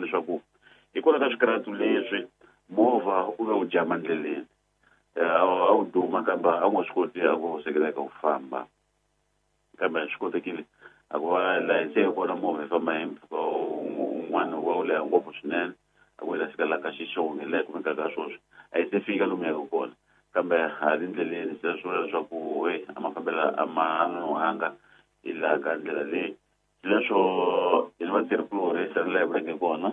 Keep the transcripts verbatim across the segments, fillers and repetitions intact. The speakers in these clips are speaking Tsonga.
Leswaku hikwalaho ka swikarhatu leswi movha u ve u jama ndleleni, a wu duma kambe a wu nga swi koti a ku sekeleka ku famba, kambe swi kotekile a ku va laha se hi kona movha yi famba hi mpfhuka wun'wana wa wu leha ngopfu swinene, a ku hi ta fika laha ka Xixonge laha hi kumekaka sweswi. A yi se fika lomu yaka kona, kambe ha ri ndleleni. Se swi vula leswaku e a mafambelo a ma nonohanga hi laha ka ndlela leyi. Leswo hi ni vatirhikulorhi tani laha hi vuleke kona,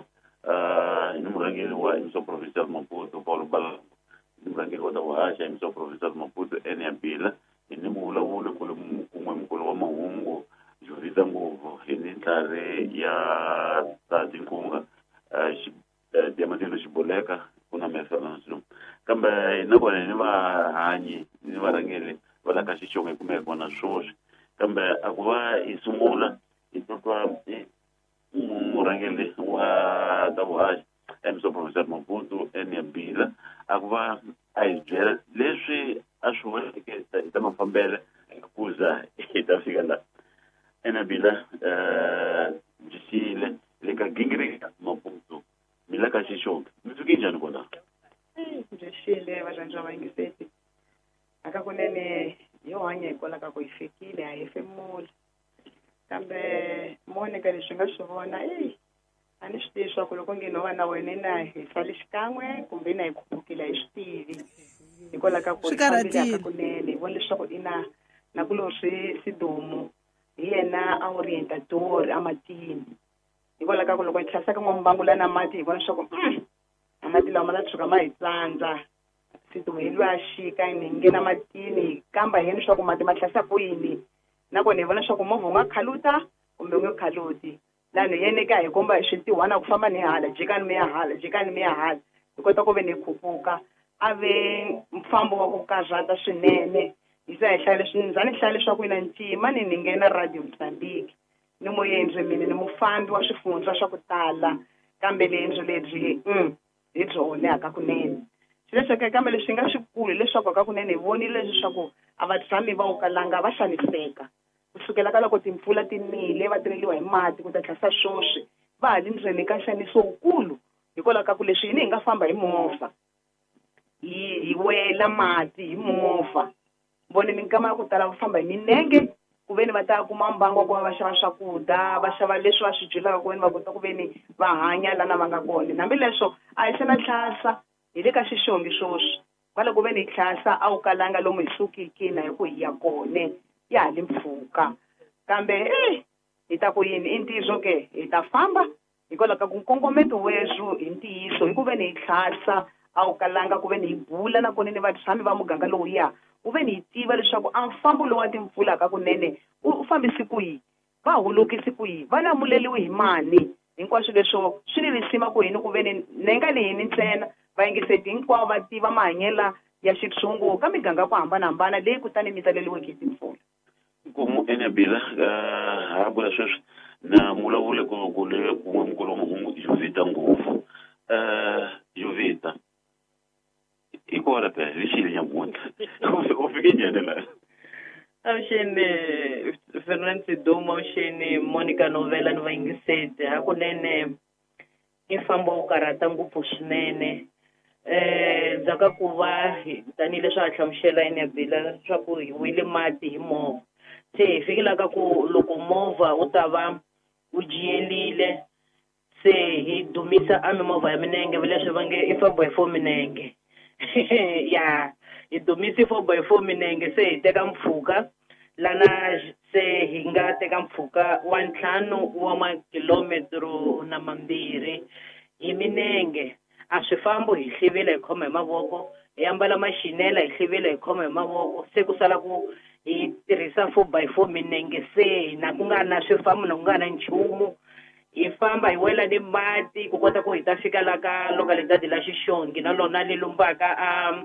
hi ni murhangeri wa Emissão Provincial Maputo Paulo Balambo, hi ni murhangeri wa ta vuhaxa Emissão Provincial Maputo Enia Bila, hi ni muvulavuli kun'we mukulu wa mahungu Jovita Nguvu, hi ni ntlhari ya ta tinkunga Diamantino Xiboleka ku na Mefelanso, kambe nakona hi ni vahanyi ni varhangeri va la ka Xixonge hi kumeka kona sweswi. Kambe a ku va hi sungula hi titwa murhangeri wa ta vuhaxi Emissão Provincial Maputo Enia Bila a ku va a hi byela leswi a swi voneke hi ta mafambelo ku za hi ta fika laha. Enia Bila, byi xile le ka gingiriko Maputo mi la ka Xixonge, mi fike njhani kona? Byi xile varhandzi va vayingiseti, hakakunene yo hanya hikwalaho ka ku hi fikile a hi hefemula, kambe Monica leswi nga swi vona eyi a ni swi tivi swa ku loko nge no va na wena na hi sale xikan'we kumbe na hi khupukile, a hi swi tivi hikwalaho ka ku Swi hi fambile karhatile. Hakakunene hi vona leswaku i na nakulorhi Sidumo hi yena a orientador amatini, hikwalaho ka ku loko hi tlhasaka n'wambangu la na mati hi vona leswaku a mati lawa ma ta tshuka ma hi tsandza. Sidumo hi lwa xika hi nghena matini hi kamba hi yena leswaku mati ma tlhasa ku yini, nakona hi vona leswaku movha wu nga khaluta kumbe wu nge khaluti. Lani hi yena ka hi komba hi swintiwhana ku famba ni hala, jikani mi ya hala, jikani mi ya hala, hi kota ku ve ni khupuka. A ve mfambo wa ku karhata swinene. Hi za hi hlaya leswi ni za ni hlaya leswaku ina ncima ni ni nghena Radio Mozambique ni muendzi mina ni mufambi wa swifundza swa ku tala, kambe liendzo lebyi mm, hi byona hakakunene. Xileswo kambe leswi nga swikulu hileswaku hakakunene hi vonile leswaku a va tshami va wukalanga va xaniseka kusukela ka loko timpfula ti nile va teleliwa hi mati ku ta tlhasa swoswi, va ha li ndzeni ka nxaniso wukulu hikwalaho ka ku leswi hina hi nga famba hi movha hi hi wela mati hi movha vone minkama ya ku tala va famba hi minenge ku ve ni va ta kuma mbangu wa ku va va xava swakudya, va xava leswi va swi byelaka ku ve ni va kota ku ve ni va hanya lana va nga kona. Hambileswo a hi se na tlhasa hi le ka Xixongi swoswi, kwala ku ve ni hi tlhasa a wu kalanga lomu hi sukiki na hi ku hi ya kone ya ha li mpfhuka, kambe eh hi ta ku yini i ntiyiso ke hi ta famba hikwalaho ka ku nkongometo weswo hi ntiyiso hi ku ve ni hi tlhasa a wu kalanga ku ve ni hi bula nakona ni vatshami va muganga lowuya ku ve ni hi tiva leswaku a mfambo lowu wa timpfula hakunene u fambisi ku yini, va holokisi ku yini, va lamuleliwe hi mani. Hinkwaswo leswo swi ni risima ku hini ku ve ni nenga leyi ntsena vayingiseti hinkwavo va tiva mahanyelo ya xitshungu ka miganga ku hambanahambana leyi kutani mi taleliweke hi timpfula. Nkomu Enia Bila, ha bula sweswi na muvulavuli ku ku le kun'we mukulu wa mahungu Jovita Nguvu. Jovita, hi kona phela hi xile nyamuntlha u fike njhani laha? Avuxeni Fernand Sidumo, avuxeni Monica Novela ni vayingiseti. Hakunene i mfambo wo karhata ngopfu swinene, eh ndzhaku ka ku va tanihileswi a hlamusela Enia Bila leswaku hi wile mati hi movha, se hi fikela ka ku loko movha wu ta va wu jiyelile se hi dumisa a mimovha ya minenge leswi va nge i four by four minenge ya hi dumisi four by four minenge, se hi teka mpfhuka lana se hi nga teka mpfhuka wa ntlhanu wa makilometro na mambirhi hi minenge. A swi fambi hi hlivile hi khoma hi mavoko, hi ambala maxinela hi hlivile hi khoma hi mavoko, se ku sala ku hi tirhisa four by four minenge, se na ku nga na swifambo na ku nga na nchumu, hi famba hi wela ni mati ku kota ku hi ta fika la ka localidade la Xixongi na lona li lumbaka a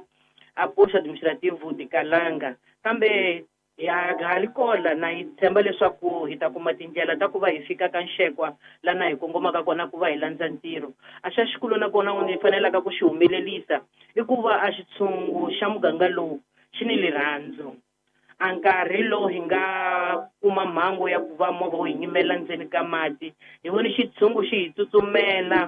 a posto administrativo de Kalanga, kambe ya ha li kola na hi tshemba leswaku hi ta kuma tindlela ta ku va hi fika ka Nxekwa lana hi kongomaka kona ku va hi landza ntirho. A xa xikulu nakona ni fanelaka ku xi humelelisa i ku va a xitshungu xa muganga lowu xi ni lirhandzu. A nkarhi lowu hi nga kuma mhangu ya ku va movha wu hi nyimela ndzeni ka mati, hi vone xitshungu xi hi tsutsumela.